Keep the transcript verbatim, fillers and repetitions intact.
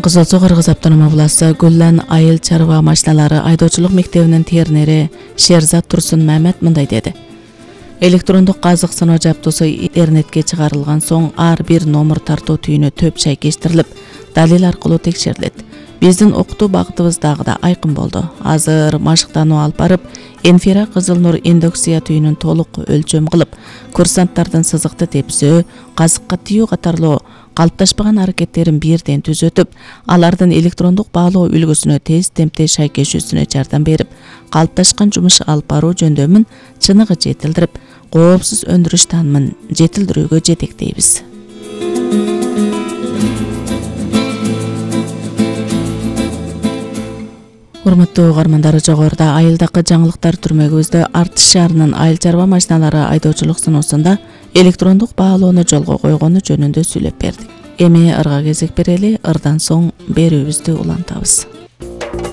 Кызыл Суу Кыргыз автономия областы Гүллен айыл чарба машиналары айдоочулук мектебинин тернери Шерзат Турсун Мамед мындай деди. Электрондук казык сыноо жабдуусу интернетке чыгарылган соң ар бир номер тартуу түйүнү төп шайкештирилип, далил аркылуу текшерилет. Биздин окутуу багытыбыз дагы да айкын болду. Азыр машыктануу алып барып, инфра кызыл нур индукция түйүнүн толук өлчөм кылып, курсанттардын сызыкты тепсөө, казыкка тиүү катарлуу калыпташпаган аракеттерин бирден түзөтүп, алардын электрондук баалоо үлгүсүнө тез темпте шайкешүүсүнө жардам берип, калыпташкан жумуш алып баруу жөндөмүн чыныгы жетилдирип, коопсуз өндүрүш таанымын жетилдирүүгө жетектейбиз. Урматтуу угармандар, жогоруда айылдакы жаңылыктар түрмөгүбүздө Артыш шаарынын айыл чарба машиналары айдоочулук сыноосунда электрондук баалоону жолго койгону жөнүндө сүйлөп бердик. Эми ырга кезек берели, ырдан соң берүүбүздү улантабыз.